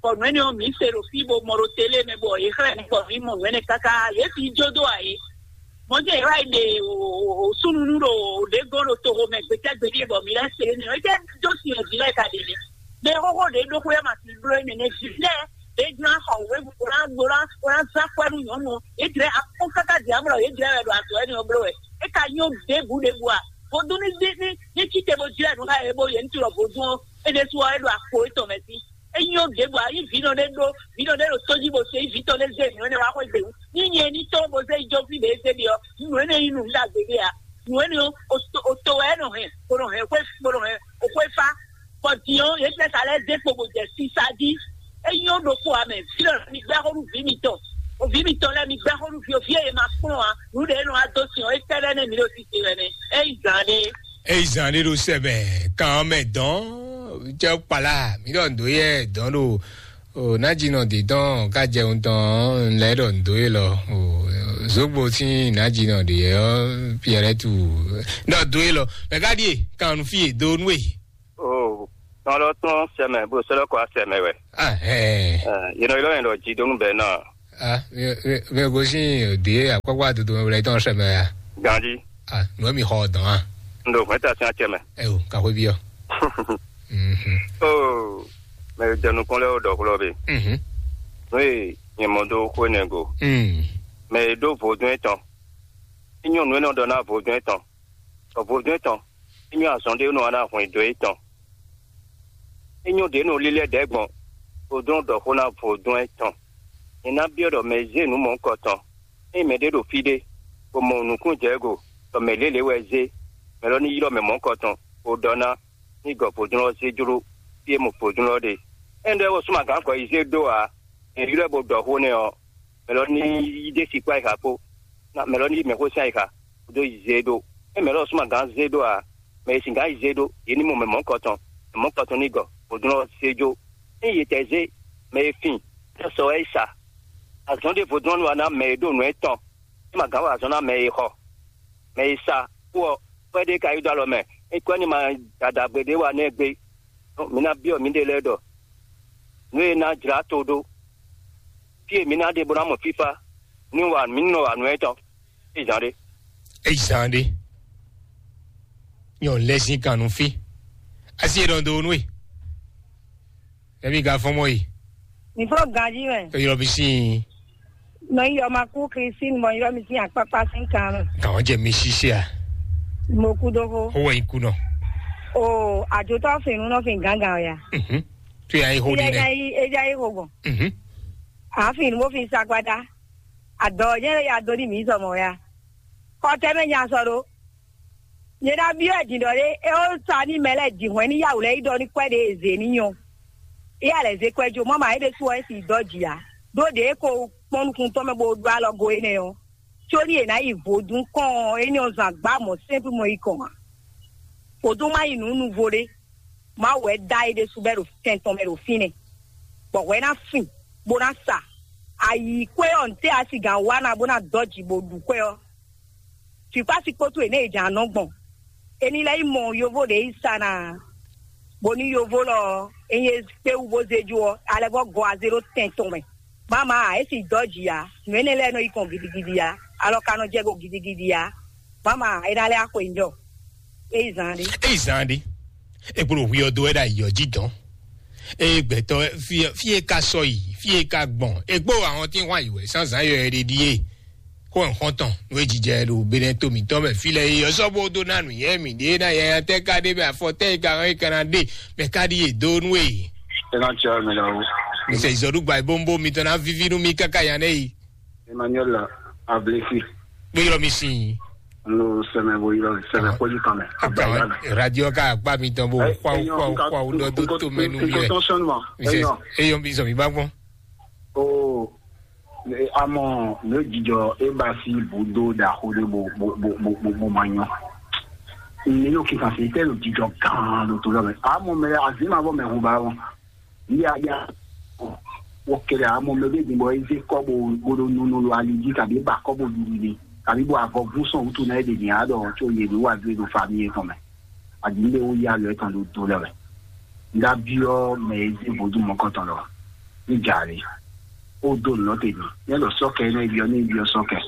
Bɔ nǔ énɛ́ ɔ́, mǐ se ɖo fí bo mɔ ɖo télé mɛ, bɔ yě xlɛ́ mǐ bɔ mǐ mɔ nǔ énɛ́ káká, yě fi jó dó ǎ é. Mɔ̌ jɛ yě wá yi ɖe súnunu ɖo ɖě gɔ́n ɖo toxo mɛ gbetɛ́gbe ɖíe, bɔ mǐ lɛ́ se énɛ́ ɔ́, é jẹ́ dó sin ɔ́ jí lɛ́ɛ ka ɖe nɛ́. Mɛ xóxó ɖě ɖokpó yɛ ma fi bló énɛ́ nɛ́ jí lɛ́ɛ, ɖě ná xɔ wěvu bó ná bó ná bó ná zán kwɛ́ nú nyɔ̌nu ɔ́, yě jlɛ́ akpɔ́n káká din amlɔ, yě jlɛ́ wɛ ɖo azɔ̌ énɛ́ ɔ́ bló wɛ. É ka nyɔ́ ɖěbǔ ɖěbǔ a? Vodún ní ní ní ní cíte bó jlɛ́ nǔ xá yě bó yě ní tilɔ vodún ɔ́, é ɖésú ɔ́, é ɖo akpo étɔn mɛ sí. É nyɔ́ ɖěbǔ a? Nyí vǐ nɔ ɖé ɖó vǐ nɔ ɖé ɖo tó jí bó se nyí vǐ tɔn ɖé zé nǔ énɛ́ wá xwé gběwú. Ní nyɛ ní tɔn bó zé yi jɔfí ɖě zé ɖi ɔ́, nǔ énɛ́ nyí nǔ ɖagbe ɖé a? Nǔ énɛ́ ɔ́, o to o to wɛ é nɔ hɛn, bó nɔ hɛn xwé bó nɔ hɛn o xwé fá. Bɔ din ɔ́, yě tɛ́ sa lɛ́ zé kpo bó jɛ sisa jí. É nyɔ́ ɖokpó a mɛ, vǐ lɔ mi gbɛ́ xó nú vǐ mitɔn. O vǐ mitɔn lɛ́ɛ mi gbɛ́ xó nú vǐ o, vǐ e yě ma kplɔ́n ǎ. Nǔ ɖě e nɔ wá dó sin ɔ́, é tɛ́ lɛ́ nɛ́ mi ɖo sise wɛ nɛ́. É yi zǎn ɖé. Eyi zan ɖé ɖo sɛ mɛ kan ɔ́ mɛ dɔn jɛ kpala mi ɖɔ ndo yɛ dɔn ɖo o najinɔ de dɔn ka jɛ ŋutɔn lɛ ɖɔ ndo ye lɔ o zogbo tí najinɔ de yɛ ɔ piɛrɛ tu ɖɔ do ye lɔ mɛ ka ɖie kan nu fi ye do nu ye. O tɔn lɔ tɔn sɛmɛ bó sɔlɔ kɔ sɛmɛ wɛ. Ah, eh. Yénɔ yɔrɔ yẹn lɔ jí dó nú bɛ náà. Ah, mi mi mi gosin de akpakpa dodo mɛ wlɛ tɔn sɛmɛ ya. Ganji. Ah, nɔ mi xɔ dɔn ah. N ɖo hwɛta sin acɛ mɛ. Ɛ o, ka xwé bi ɔ. Mhm. O mɛ jɛ nukɔn lɛ o dɔ xlɔ be. Mhm. Nú e nyɛ mɔ dó xwé nɛ go. Mm. Mɛ e ɖó vodún etɔn. Inyɔ nú e nɔ ɖɔ ná vodún etɔn. Ɔ vodún etɔn. Inyɔ azɔn ɖé nɔ ná hwɛn dó etɔn. Inyɔ ɖě nɔ lílɛ́ ɖɛ̌ gbɔn. Vodún ɖɔ xó ná vodún etɔn. Nyɛ ná byɔ́ ɖɔ mɛ e zé nǔ mɔ̌hunkɔtɔn. Ényí mɛɖé ɖo fí ɖé, bó mɔ nǔkún jɛ go, bɔ mɛ lělě wɛ zé, mɛ lɔ ní ylɔ́ mɛ mɔ̌hunkɔtɔn, bó ɖɔ ná ní gɔ vodún ɔ́ zé jló fí e mɔ vodún ɔ́ ɖe. Ényí ɖɔ é wɔ súnma gǎn gɔ̌ yi zé ɖó ǎ, è ylɔ́ ɛ bó ɖɔ xó nɛ́ ɔ́, mɛ lɔ ní yí ɖé si kpó ayixa kpó, mɛ lɔ ní yí mɛxó sín ayixa, bó dó yi zé ɖó. Ényí mɛ lɔ súnma gǎn zé ɖó ǎ, mɛ e singǎn yi zé ɖó, yě ní mɔ mɛ mɔ̌hunkɔtɔn, mɛ mɔ̌hunkɔtɔn ní gɔ vodún ɔ́ zé jó. Ényí yě tɛ zé mɛ e fin, é sɔ wɛ é sa. Azɔn ɖěvo dɔn nú wa ná mɛ e ɖo nǔ etɔn, é ma gǎn wa azɔn ná mɛ e xɔ. Mɛ e sa kú ɔ, kwɛ́ ɖé ka yi dó alɔ mɛ, é kwɛ́ ní ma ɖaɖagbe ɖé wa nɛ́ gbé. Mi ná byɔ́ mǐɖée lɛ́ɛ ɖɔ nǔ e ná jlá to ɖó. Fí e mi ná ɖe bó ná mɔ fífá, ní wa mǐ nɔ wa nǔ etɔn. É zǎn ɖé. Eyi zan ɖe nyɔ lɛzin kan nu fi asi e ɖɔn do nu e. Ɛmi ga fɔn mɔ yi. Mi fɔ ganji mɛ. Eyɔrɔ mi si. Nɔ yi yɔ ma kú Christine mɔ yɔ mi sin akpakpa sin kan mɛ. Kàn jẹ mi sisi a. Mo kú dó ko. Owó yìí kú nọ. O àjòtọ́ fin nu nɔ fin gángan o ya. Mhm. Tu yà yi ho di Eja nɛ. Yi eja yi ho gbɔn. Mhm. Àáfin ni mo fi sagbada. Àdɔ yẹn ya do ní mi sɔmɔ ya. Kɔ tẹ́ mɛ nya sɔ ɖó. Nyɛ ná byɔ́ ɛ din ɖɔ ɖé é ó sa ní mɛ lɛ́ɛ din hwɛ̌n ní yawǔ lɛ́ɛ yi ɖɔ ní kwɛ́ ɖě e zě ní nyɔ. Éyɛ́ lɛ̌ zé kwɛ́ jó mɔ̌ ma é ɖésú ɔ́ é si dɔ́ jǐ ǎ. Ɖó ɖě é ko kpɔ́n nukúntɔn mɛ bó ɖó alɔ go énɛ́ ɔ́, có ní è nǎ yi vodún kɔn ɔ́, énɛ́ ɔ́ zɔn agbǎ mɔ̌ sɛ́npú mɔ yi kɔn ǎ. Vodún má yi nǔ nuvo ɖé. Mawu wɛ dó ayi ɖésú bɔ é ɖo tɛn tɔn mɛ ɖo fínɛ́. Bɔ hwɛ ná fin, bó ná sa. Ayi kwɛ́ ɔ́, ntɛ́ a si gǎn wa ná bó ná dɔ́ jǐ bó ɖu kwɛ́ ɔ́? Fǐkpási kpótó è nɛ́ è jǎn nɔ gbɔn. È ní lɛ́ yi mɔ yovó ɖě yi sa ná, bónú yovó lɔ ɔ́, é nyí kpéwú bó zé jó ɔ́, alɛ vɔ́ gɔ azé ɖó tɛn tɔn mɛ. Mama ǎ, é si dɔ́ jǐ ǎ. Nǔ énɛ́ lɛ́ɛ nɔ yi kɔn gidigidi ǎ. Alɔ ka nɔ jɛ go gidigidi ǎ. Mama ǎ, é ná lɛ́ axwe njɔ. É yi zan ɖé. Eyi zan ɖe. Egbolo hwi ɔ do wɛ ɖo ayɔ jí dɔn. Eye gbɛtɔ fi e ka sɔ yi, fi e ka gbɔn, egbo ahɔn tí wọ́n yi wɛ sanzan yɔ ɛ ɖe ɖíe. Xó ẹ̀ xɔ́ntɔn nú ejijɛ ɖo Benɛto mǐtɔn mɛ fi lɛ yi ɔsɔ bó dó ná nǔ yɛ mǐ ɖé ná yɛya tɛ ka ɖé mɛ afɔ tɛ yi ka hɔn yi ka ná ɖe mɛ ka ɖi yě dó nú e. Ena tsia mi la wo. Mise izɔɖugba yi bó ń bó mitɔn ná vivi nú mi káká ya nɛ yi. Emmanuel Ablesi. Gbé yɔrɔ mi sin. N lo sɛmɛ bo yɔrɔ sɛmɛ kɔji kan mɛ. Akan radio ka akpa mi tɔn bo xwa xwa xwa o dɔ do to mɛ nu mi rɛ. Mise eyɔn mi sɔ mi ba gbɔn. O amɔ ne jijɔ e ba si bu do da xo de bo bo bo bo bo bo ma nyɔ. Ne yo kika se tɛ lo jijɔ gan lo to lɔ mɛ. Amɔ mɛ azima bɔ mɛ hu ba wɔn. Yíyá yá wɔ kɛlɛ amɔ mɛ bɛ gbɔ eze kɔbɔ gbɔdɔ nunu lo ali dzi kabi ba kɔbɔ didi de kabi bɔ avɔ vú sɔn wutu na ede ni adɔ tso ye ni wa due do fa mi etɔn mɛ adi ne wo ya lɔ etɔn do do lɛ wɛ nda biɔ mɛ eze vodu mɔkɔtɔn lɔ Ní jǎ lé. Ó dó nǔ lɔ tɛ́ mi. Ní ɛlɔ sɔ́kɛ énɛ́ byɔ́ ní byɔ́ sɔ́kɛ.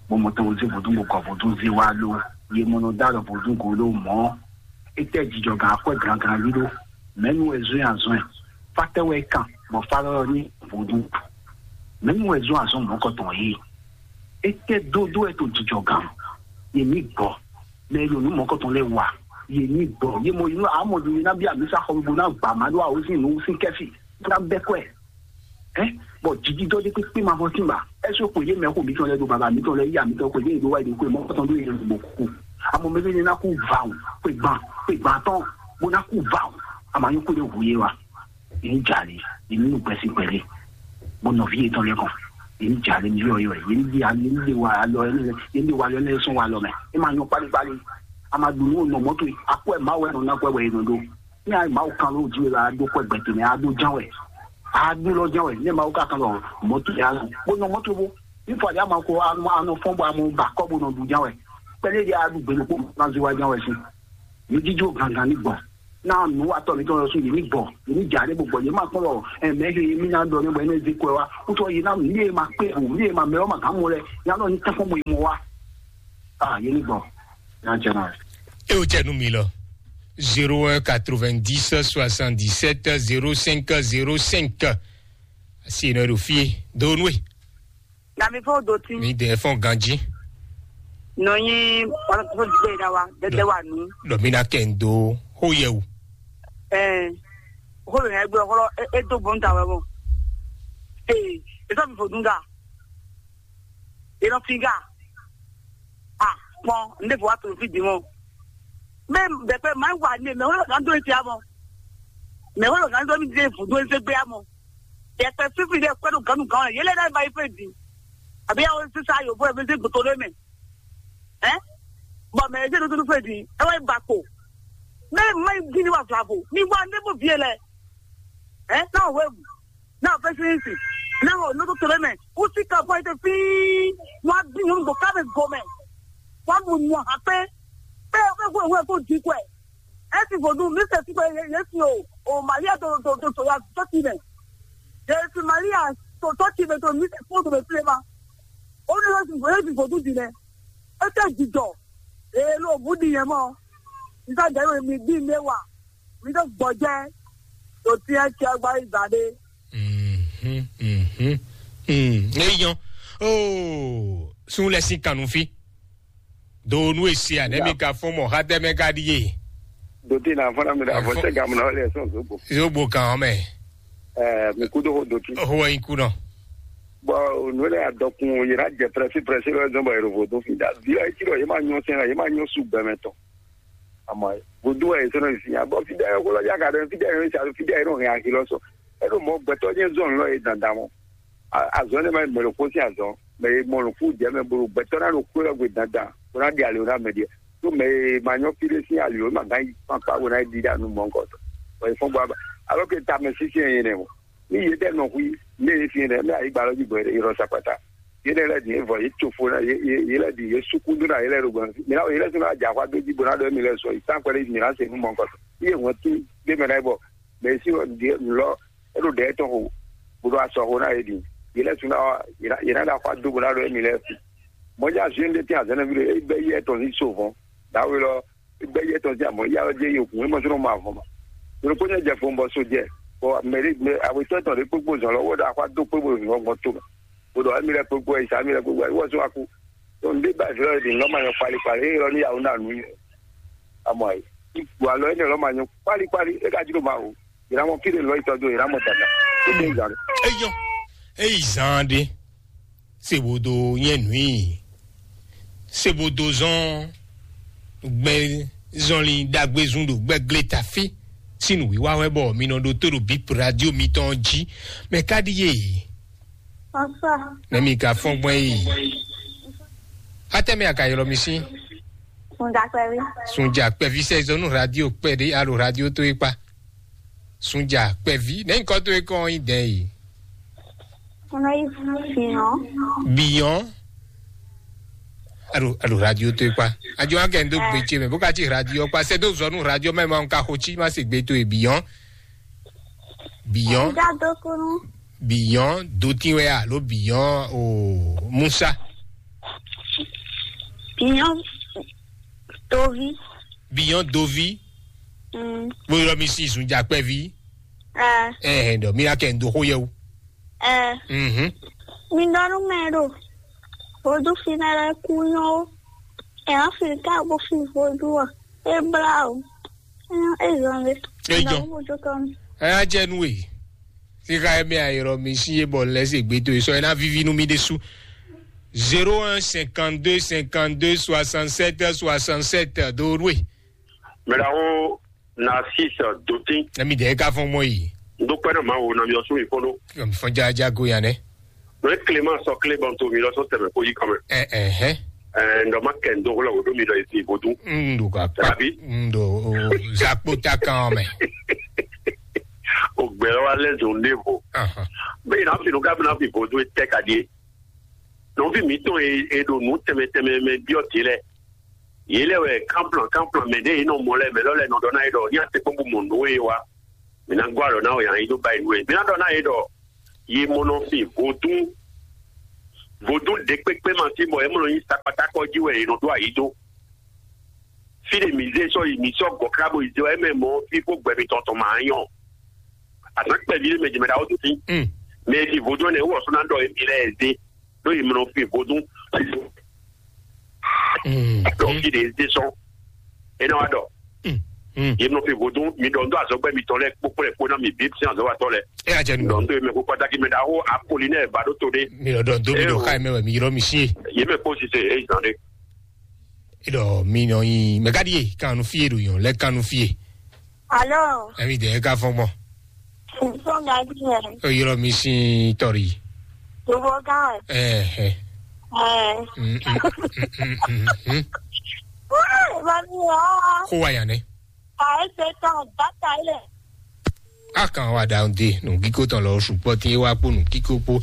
Bó mɔ tɔn zé vodún bó gɔ vodún zé wá ló. Yě mɔ nɔ dó alɔ vodún go ló mɔ̌. Étɛ́ jijɔ gǎn akwɛ́ gǎngán lílo. Mɛ̌nu wɛ zɔ́n azɔn ɛ? Fátɛ́ wɛ kan bɔ fá lɔ́ ní vodún. Mɛ̌nu wɛ zɔ́n azɔn mɔ̌kɔtɔn yìí? Étɛ́ dódó wɛ to jijɔ gǎn? Yě ní gbɔ. Mɛ e ɖo nǔ mɔ̌kɔtɔn lɛ́ɛ wa. Yě ní gbɔ. Yě mɔ yě nɔ amɔ ɖo yě ná bí amisa xɔ bo ná gbà má ɖó awosín nǔ sín kɛ́fì. Ná bɛ́ kɔ́ ɛ. Ɛ bɔ jiji dɔ ɖé kpékpé ma fɔ tínba. Ɛsɛ xwe yé mɛ xo mitɔn lɛ ɖo baba mitɔn lɛ yíya mitɔn xwe yé ɖo wa yi xwe mɔ kɔtɔn ɖo yé ɖo bɔ kú. Amɔ mɛ bɛ ná kú va o. Xwe gban xwe gban tɔn bó ná kú va o. Amɔ anyi kú ɖe hu yé wa. Yé ní jalè, yé ní nu gbɛsí gbɛlé. Bó nɔví yé tɔn lɛ kàn. Yé ní jalè ní yɔ yɔ yé ní di ali ní de wa alɔ yé ní de wa alɔ yé ní sɔn wa alɔ mɛ. É ma nyɔ kpali kpali. A ma ɖu nú nɔ mɔto yi. Akɔ ɛ ma wɛ nɔ ná kɔ ɛ wɛ yé nɔ ɖo. Ní a Mawu kan ló jí la ɖó kɔ gbɛtɛ mɛ a ɖó ján wɛ. A ɖó lɔ ján wɛ. Ní Mawu ka kan lɔ mɔto ya lɔ. Bó nɔ mɔto bó. Ní fɔ àdé a ma ko a nɔ fɔn bɔ a mɔ ba kɔ bó nɔ ɖu ján wɛ. Pɛlɛ di a ɖu gbɛlú kó ma zó wa ján wɛ sí. Yé jíjó gangan ní gbɔ. Ná nù wa tɔ mi tɔn lɔ sún yé ní gbɔ. Yé ní jà ní gbɔ yé má kpɔn lɔ. Ɛ mɛ he mi ná dɔ ní bɔ yé ní zé kɔ wa. Wútɔ yé ná mi yé ma kpé o mi yé ma mɛ ɔ ma gán mɔ lɛ. Yá lɔ ní tɛfɔn bɔ yé mɔ wa. Ah yé ní gbɔ. Yá jẹ náà. E o jẹ nu mi lɔ. Zéro un quatre-vingt-dix soixante-dix-sept zéro cinq zéro cinq. Asi nɔ ɖo fie do nue. Na mi fɔ do ti. Mi dɛ fɔ ganji. Nɔ nyi ɔlɔtɔ gbé da wa dɛdɛ wa nu. Dɔ mi na kɛ n do ho yɛ o. Ɛɛ, ho yɛ gbɛ ɔlɔ e do bɔn ta wɛ mɔ. Ee, e sɔ mi fo dun ga. E nɔ fi ga. Ah, kpɔn n de fo wa to fi di mɔ. Mɛ bɛ pɛ maa wa ne mɛ wolo kan do eti amɔ. Mɛ wolo kan do mi de fu do ese gbe amɔ. Yɛ pɛ fifi de kpɛ do ganu gan yɛ lɛ na ba yi fɛ di. Abi awo sisa yo bo ebe se gboto de mɛ. Ɛ? Bɔn mɛ ese do to fɛ di. Ɛ wa ba ko. Mɛ ma yi di ni wa fla bo. Mi wa ne bo vie lɛ. Ɛ? Na wo. Náà fɛsínísì, náà ò nɔ́ tó tẹ̀lé mɛ, kú sí kan fún ẹ tẹ fíí, wọ́n á bí yín gbò ká mɛ gomɛ, wọ́n á mú mú hàn pé, pé pé kó ìwé kó di kọ ẹ̀, ẹ sì fò dùn mí sẹ̀ sí pé yé sí o, o Màríà tó tó tó tó ya tó ti mẹ̀, yé sí Màríà tó tó ti mẹ̀ tó mí sẹ̀ fún òdòdó sílẹ̀ ma, ó ní yóò sì fò yóò sì fò dùn dì mẹ́, ó tẹ̀ jìjọ, èyí ló bú di yẹn mọ́, nígbà jẹ́ ìwé mi bí mẹ́wàá. Mi ɖo gbɔjɛ ɖo tiɛ tiɛ gba yi gba ɖe. Mhm, mhm. Mm, eyan. Oh, sun lɛ sin kanu fi. Do nu esi a ne mi ka fɔn mɔ ha tɛ mɛ ka di ye. Doti na fɔna mi da fɔ sɛ gamu na wale sɔn zogbo. Zogbo kan mɛ. Eh, mi kudo ho doti. Ho yin ku nɔ. Bon, nu le adɔkun yira jɛ prɛsi prɛsi lɔ zɔn bɔ yɛrɛ vo do fi da. Vila eti lɔ ye ma nyɔ sɛn ye ma nyɔ su gbɛmɛ tɔn. Àmọ́ vodún wɛ yě sɔ́ nɔ sin abɔ fídá yɛ xó lɔ yá ka ɖɔ fídá yɛ sa fídá yɛ nɔ hɛn axi lɔ sɔ. Ɛɖo mɔ gbɛtɔ́ nyɛ zɔn lɔ yɛ dandan mɔ. Azɔn ne ma mɛ ɖo kó sin azɔn mɛ yɛ mɔ nɔ kú jɛ mɛ bolo gbɛtɔ́ na ɖo kó lɔ gbe dandan kó na ɖi ali na mɛ ɖiɛ. Tó mɛ yɛ ma nyɔ fi ɖe sin ali o ma gán yi kpankpa wo na yi ɖi ɖa nu mɔ nkɔ tɔ. Wɔ yi fɔn bɔ aba. Alɔ ke ta mɛ sisi yɛ yɛ nɛ mɔ. Ní yě ɖɛ nɔ hu ní yě fi ɖɛ mɛ ayigba lɔ jí gbɔ yé ɖɔ sakpata. Yé ɖɛ lɛ dǐ yé vɔ yé tso fo ná yé yé yé lɛ dǐ yé sukú dó ná yé lɛ ɖo gbɔn. Mǐ ná yé lɛ sɔ́ ná dza xwá dó jí bó ná ɖɔ mǐ lɛ sɔ yi tán kpɛɖé mǐ ná se nú mɔ nukɔn. Yé hɔn tí gbé mɛ ná yé bɔ mɛ yé sí ɖě lɔ é ɖo ɖɛ tɔn xo bó ɖo asɔ xo ná yé ɖi. Yé lɛ sɔ́ ná yé ná yé ná ɖa xwá dó bó ná ɖɔ mǐ lɛ fi. Mɔ̌ já zé ɖé tɛ́n azɛ̌nɛví ɖé é bɛ́ yé tɔn ní so vɔn. Dǎwe lɔ gbɛ́ yɛ tɔn sín amɔ̌ yá ɔ́ jẹ́ yě hun é mɔ sínú ma vɔn ma. Ɖokpó nyɛ jɛ fo bɔ so jɛ bɔ mɛɖé mɛ awetɔ́ tɔn ɖé kpékpó zɔn lɔ wó ɖo axwá dó kpé bó zɔn gbɔn tó mɛ. Bó ɖɔ émi lɛ kpékpó ɛ ìsá mi lɛ kpékpó ɛ wɔ sún wa kú. Tó ń dé bá ìfẹ́ ɔ̀dì ńlá ma nyɔ kpalikpali é lɔ ní yàwó nà nú yɛ. Amɔ ɛ ìgbò alɔ énɛ́ lɔ ma nyɔ kpalikpali é ka jló ma o. Ìrámɔ fíɖe lɔ ìtọ́jú ìrámɔ dàda. Ó dé ìgbà rẹ̀. Eyɔn, eyi zan ɖe. Se bo do nyɛ nui. Se bo do zɔn gbɛ zɔnlin ɖagbe zun ɖo gbɛgle tafi. Sinu wiwa wɛ bɔ mi nɔ ɖo to ɖo bip radio mitɔn jí. Mɛ ka ɖi ye? Bonsoir. Ne mi ka fɔn gbɔn yi. Atɛ mi a ka ylɔ mi si? Sunja kpɛvi. Sunja kpɛvi sɛ zɔnu radio kpɛ ɖe alo radio to yi kpa. Sunja kpɛvi ne nyikɔ to yi kɔn yi dɛn yi. Kɔnɔ yi biyan. Biyan. Alo alo radio to yi kpa. Ajo an kɛ n do gbe tse mɛ bó ka ti radio kpa sɛ do zɔnu radio mɛ ma n ka xo tsi ma se gbe to yi biyan. Biyan. Nga do kunu. Biyɔn dotin wɛ alo biyɔn o musa? Biyɔn dovi. Biyɔn dovi. Mm. Bóyá mi sí ìsúnjà pẹ́ví. Ẹ. Ẹ ẹ dɔ mi yà kẹ́ ń do xó yẹ o. Ẹ. Mhm. Mi dɔnú mɛ ɖo. Vodún finɛ lɛ kú nyɔ o. Ẹ á fi ká bó fi vodún ɔ. É blá o. Ẹ zɔn lé. É jɔ. Ẹ á jẹ nú e. Sika emi ayɔrɔ mi si ye bɔ lɛ se gbe to e sɔ ena vivi nu mi de su. Zéro un cinquante-deux cinquante-deux soixante-sept soixante-sept do nue. Mɛɖaho Narcisse Dotin. Emi de ka fɔn mɔ yi. N dúpẹ́ náà máa wo nami ọ̀sùn ìfọ́nú. Fɔn jaja go ya nɛ. Lórí Clément sọ Clément tó mi lọ sọ tẹ̀mẹ̀ kó yí kan mẹ́. Ẹ ẹ hẹ. Ẹ ǹdọ̀ má kẹ́ ǹdọ̀ wọlé wòdó mi lọ ìsìn ìbòdú. N do ka pa. Tàbí? N do zakpo ta kan mɛ. Ògbẹ́ wa lẹ́sùn lévo. Bẹ́ẹ̀ náà fi nù ká bí náà fi ìbòdú tẹ́ ka di é. Nɔvi mǐtɔn e e ɖo nǔ tɛnmɛ tɛnmɛ mɛ byɔ́ din lɛ́ɛ, yě lɛ́ wɛ kánplɔn kánplɔn mɛ ɖě e nɔ mɔ lɛ́ɛ mɛ lɔ́ lɛ́ɛ nɔ ɖɔ ná yě ɖɔ ní atekpɔ́n bó mɔ nǔ e wa. Mǐ ná gɔ́ alɔ ná wɛ yǎ yí dó ba yi nú we. Mǐ ná ɖɔ ná yě ɖɔ yě mɔ nɔ fin vodún vodún ɖě kpékpé ma sí bɔ yě mɔ nɔ nyí sakpatákɔ jí wɛ yě nɔ ɖó ayǐ dó. Fí ɖe mǐ zé sɔ́ yi mǐ sɔ́ gɔ̌ ká bó yi zé wɛ mɛ mɔ fí kpó gbɛ mitɔn tɔn ma nyɔ. Azǎn kpɛví ɖé mɛ jɛ mɛ ɖaxó dó fí. Mm. Mɛ e ɖi vodún ɛnɛ wɔ sɔ́ ná ɖɔ émí lɛ́ɛ zé ɖó yi mlɔ fi vodún. Mm. Ɖɔ fí ɖe zé sɔ́ é ná wá ɖɔ. Mm. Mm. Yi mlɔ fi vodún mi ɖɔ ŋdɔ azɔgbɛ mitɔn lɛ kpókpó lɛ kpó ná mi bí sin azɔwatɔ lɛ. E y'a jɛ nu. Ɖɔ ŋdɔ yi mɛ kó pátákì mɛ ɖaxó Apolinɛ ba ɖó to ɖé. Mi ɖɔ ɖɔ do mi ɖɔ xá yi mɛ wɛ mi yrɔ mi sí. Yé mɛ kó sise é zan ɖé. Eɖɔ mi nɔ nyi mɛ ka ɖie kanu fie ɖo yɔn lɛ kanu fie. Alo. Emi de eka fɔn gbɔn. Nsɔn gadi yɛ. O yɔrɔ mi sin tɔri. Gbogbo gan. Ɛɛ. Ɛɛ. Mm, mm, mm, mm, mm, mm. Wáá, mami wá. Kó wa yan nɛ. A ese tɔn bàtà ilẹ̀. A kan wa da de nù kíkó tɔn lɔ sùpɔ tí wá kpó nù kíkó kpó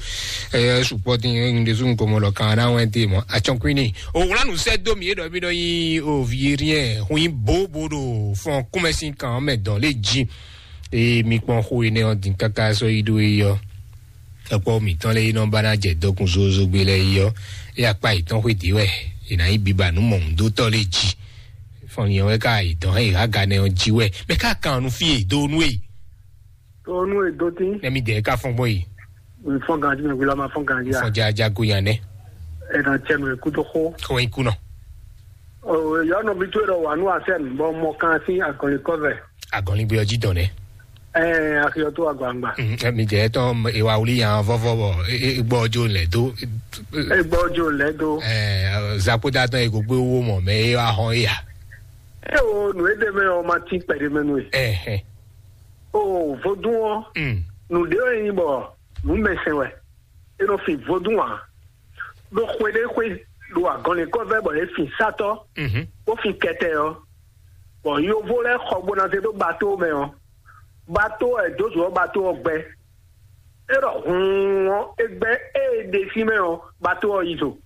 ɛ sùpɔ tí ń de sún kɔmɔ lɔ kan náà wɛn dé mɔ atsɔnkwini o wla nù sɛ dó mi yé dɔ mi dɔ yin o vi rien hun yin bó bó ɖo fɔn kúmɛsín kan mɛ dɔn lé jí. Eye mi kpɔn xó yi nɛ ɔ dín káká sɔ yi ɖó yi ɔ. Ekpɔ mitɔn lɛ yi nɔ ba na jɛ dɔkun zozo gbe lɛ yi ɔ. Eye akpa yitɔn xwé dé wɛ. Yi na yi biba nú mɔmudótɔ lé jí. Fɔn yɛn wɛ ká yi dɔn eye haga nɛ ɔ jí wɛ. Mɛ ká kan nu fi yi do nu yi. Tó nú èdó tí Nɛ mi dɛ ká fɔn gbɔ yi. Nfɔn ganji mɛ wíwá ma fɔn ganji a. Fɔn jaja go yan nɛ. Ẹ̀dá tiẹ̀ nù èkú tó xó. Kɔn yi kunɔ. Yɔnɔ bi tó yɔrɔ wà nù asɛm bɔ mɔ kan sí agɔnlikɔvɛ. Agɔnligbe ɔjí dɔn nɛ. Ɛɛ akiyɔ tó agbangba. Mm, ɛ, mi jɛ tɔn ewa wuli yan vɔvɔ bɔ e, e, gbɔ jo lɛ do. Egbɔ jo lɛ do. Ɛ, zakuta tɔn ego gbé wo mɔ mɛ e wa hɔn e ya. E o nù e de mɛ o ma ti kpɛɖe mɛ nù e. Ɛhɛn. O vodún ɔ Mm. Nù ɖé wɛ nyi bɔ nǔ mɛ sɛn wɛ. E nɔ fin vodún ǎ. Ɖo xwe ɖé xwe ɖo agɔnlikɔvɛ bɔ yě fin sátɔ́ Mhm. Bó fin kɛtɛ ɔ́, bɔ yovo lɛ́ɛ xɔ gbo ná zé ɖó bato mɛ ɔ́, bato ɛ dó zǒ ɔ́ bato ɔ́ gbɛ. É ɖɔ hǔun ɔ́, é gbɛ ée ɖe sín mɛ ɔ́, bato ɔ́ yi zo.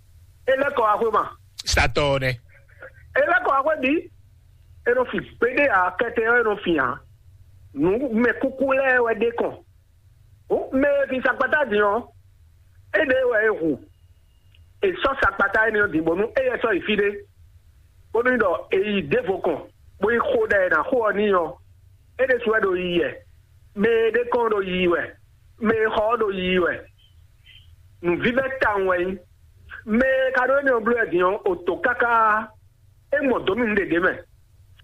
É lɛ́ kɔ wá xwé ma. Satɔ ɔ́ nɛ. É lɛ́ kɔ wá xwé bǐ. É nɔ fin gbeɖé ǎ, kɛtɛ ɔ́ é nɔ fin ǎ. Nǔ mɛ kúkú lɛ́ɛ wɛ ɖe kɔn. Hǔn mɛ e fin sakpatá din ɔ́, éɖée wɛ è hu. È sɔ́ sakpatá énɛ́ ɔ́ din bónú éyɛ́ sɔ́ yi fí ɖé, bónú ɖɔ è yi ɖěvo kɔn, bó yi xo ɖɛ è nǎ xo ɔ́ n'i ɔ́, é ɖésú wɛ ɖo yiyi wɛ. Mɛ e ɖe kɔn ɔ́ ɖo yiyi wɛ, mɛ e xɔ ɔ́ ɖo yiyi wɛ. Nǔvívɛ́ tawun wɛ nyí. Mɛ e ka ɖó énɛ́ ɔ́ bló wɛ din ɔ́, è to káká. É mɔ dǒ nú nǔɖé ɖě mɛ.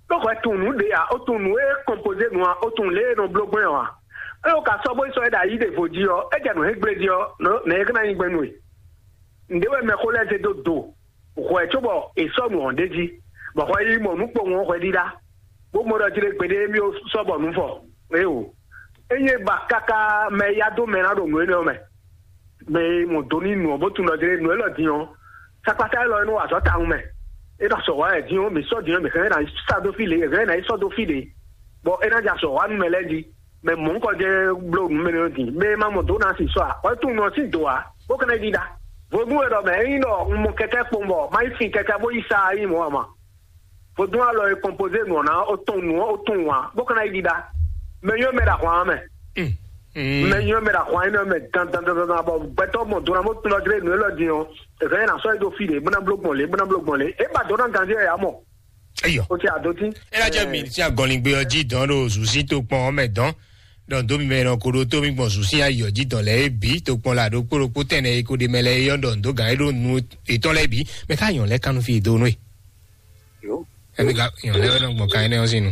Ɖó hwɛ tunwun nǔ ɖě ǎ, ó tunwun nǔ e kɔnpozé nǔ ǎ, ó tunwun lě e è nɔ bló gbɔn ɔ́ ǎ. É wǒ ka sɔ́ bó yi sɔ́ é ɖo ayǐ ɖěvo jí ɔ́, é jɛ nǔ hɛn gblé jí ɔ́, nɛ̌ é ka ná nyí gbɛn nú we? Nǔɖé wɛ mɛxó lɛ́ɛ zé dó do. Hwɛ cóbɔ è sɔ́ nǔ ɔ́ ɖ'é jí, bɔ hwɛ yi mɔ nǔ kpowun ɔ́ hwɛ ɖíɖá, bó mɔ ɖɔ jí ɖé gbeɖé émí ó sɔ́ bɔ nǔ fɔ. Éeǒ. Ényí é ba káká mɛ e yá dó mɛ ná ɖo nǔ énɛ́ ɔ́ mɛ. Mɛ e mɔ do n'i nǔ ɔ́ bó tunwun ɖɔ din nǔ élɔ́ din ɔ́, sakpata élɔ́ e nɔ wa azɔ̌ tawun mɛ. É ɖo azɔ̌ wa wɛ din ɔ́, mǐ sɔ́ din ɔ́, mǐ hɛn ná yi sɔ́ dó fí ɖě, è hɛn ná yi sɔ́ dó fí ɖě, bɔ é ná jɛ azɔ̌ wa nú mɛ lɛ́ɛ jí. Mɛ mɔ̌hunkɔ jɛ́n bló nǔ mɛ nɔ din, mɛ e ma mɔ dǒ ná sin sɔ́ ǎ, wɛ tunwun nɔ sín dǒ ǎ, bó ka ná yi ɖiɖa. Vodún e ɖɔ mɛ, ényí ɖɔ un mɔ kɛkɛ́ kpowun bɔ ma yi fin kɛkɛ́ bó yi sa ɔ́, é nyí mɔ̌ ǎ ma. Vodún alɔ e kɔnpozé nǔ ɔ́ ná ó tɔn nǔ ɔ́ ó tɔn wǎn, bó ka ná yi ɖiɖa. Mɛ nyɔ́ mɛ ɖo ahwan ɔ́ mɛ. Mm. Mɛ nyɔ mɛ ɖa xwan nyɔ mɛ dan dan dan dan bɔ gbɛtɔ mɔ dona mo tun lɔ dre nu elɔ din ɔ. Ɛfɛ yɛn na sɔ yi do fi de bena blo gbɔn le bena blo gbɔn le e ba dona ganji yɛ ya mɔ. Eyɔ. O ti a do ti. Ela jɛ mi ti agɔnlingbe ɔ ji dɔn ɖo zusi to kpɔn ɔmɛ dɔn. Dɔn do mi mɛ nɔ ko ɖo to mi gbɔn zusi ayɔ ji dɔn lɛ e bi to kpɔn la ɖo kpó ɖokpó tɛnɛ e ko ɖe mɛ lɛ e yɔ dɔn do gan e ɖo nu etɔn lɛ bi mɛ ka yɔn lɛ kanu fi do nu e. Yo. Ɛmi ka yɔn lɛ nɔ gbɔn kan ɛnɛ ɔsi nu.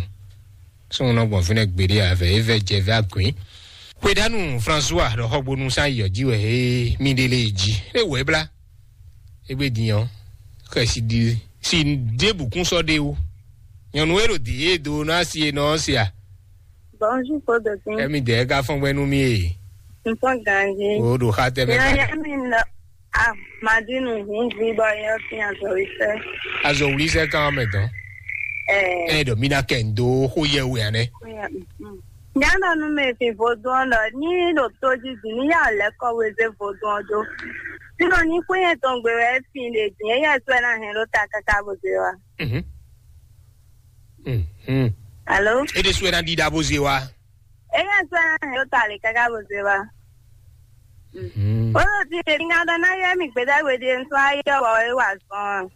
Sɔn nɔ gbɔn fínɛ gbeɖe avɛ e vɛ jɛ vɛ agbɛn. Xwedanu François ɖɔ xɔgbonu san yɔ ji wɛ he mi ɖe le ji e wɛ bla. Egbe din ɔ xɛ si di si ɖe bukun sɔ ɖe wo. Nyɔnu e ɖo di e do na si e nɔ sia. Bonjour Paul Dokin. Ɛmi dɛ ka fɔn gbɛ nu mi e. N fɔn ganji. O ɖo xa tɛ mɛ. Yaya mi nɔ. Ah, Madinu hun vi bɔ yɛ fi azɔwisɛ. Azɔ wuli sɛ kan mɛ dɔn. Ɛɛ. Ɛ dɔ mi na kɛ ndo xo yɛ wɛ anɛ. Nyana nu mɛ fi vodun dɔ ni ɖo to ji di ni ya lɛ kɔ weze vodun do. Sino ni kó yɛ tɔn gbe wɛ fi le di yɛ sɛ na hɛn ɖo ta kaka bo ze wa. Mhm. Mhm. Alo. E de sɛ na di da bo ze wa. Eya sɔ na hɛn ɖo ta le kaka bo ze wa. Mhm. Olo ti le mi na dɔ na yɛ mi gbeda we de nsɔ ayɔ wɔ e wa zɔn.